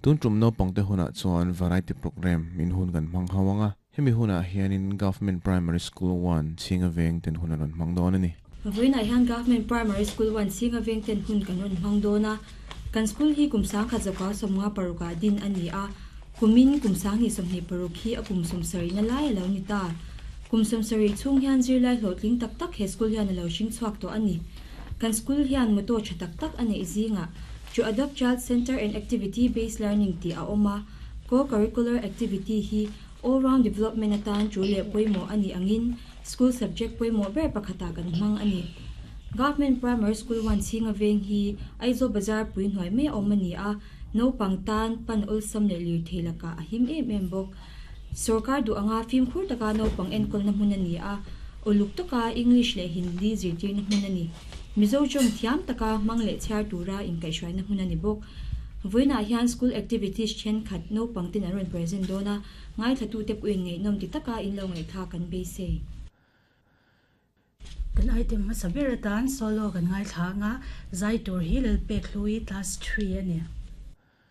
Tun tum naupangte hunah chuan variety programme in hun kan hmang ho ang a, hemi hunah hianin Government Primary School One chhinga veng ten hun a rawn hmang dawn a ni. Vawiinah hian Government Primary School One chhinga veng ten hun kan rawn hmang dawn a, kan school hi kum sangkhat zawka 56 ah din a ni a, kumin kum 2026 hi a kum 70 na lai a lo ni ta. Kum 70 chhung hian zirlai hlawhtling tak tak he school hian a lo hring chhuak tawh a ni. Kan school hian motto tha tak tak a neih zingah To Adopt Child Center and Activity Based Learning tih a awm a, Co-curricular activity hi all round development atan tul leh pawimawh a nih angin school subject pawimawh ber pakhatah kan hmang a ni. Government Primary School One chhinga veng hi Aizawl Bazar pui hnuai mai a awm a ni a, naupang tan pan awlsam leh lirthei lakah a him em em bawk. Sorkar duh anga fimkhur taka naupang enkawlna hmun a ni a, uluk taka English leh Hindi zirtirna hmun a ni. Mizo tawng thiam taka hmang leh chhiar tura inkaihhruaina hmun a ni bawk. Vawiinah hian school activities thenkhat naupang ten an rawn present dawn a, ngaithlatute pawhin ngaihnawm ti taka in lo ngaihthlak kan beisei. Kan item hmasa ber atan solo kan ngaithla ang a, zai tur hi Lalpek Hlui class three a ni.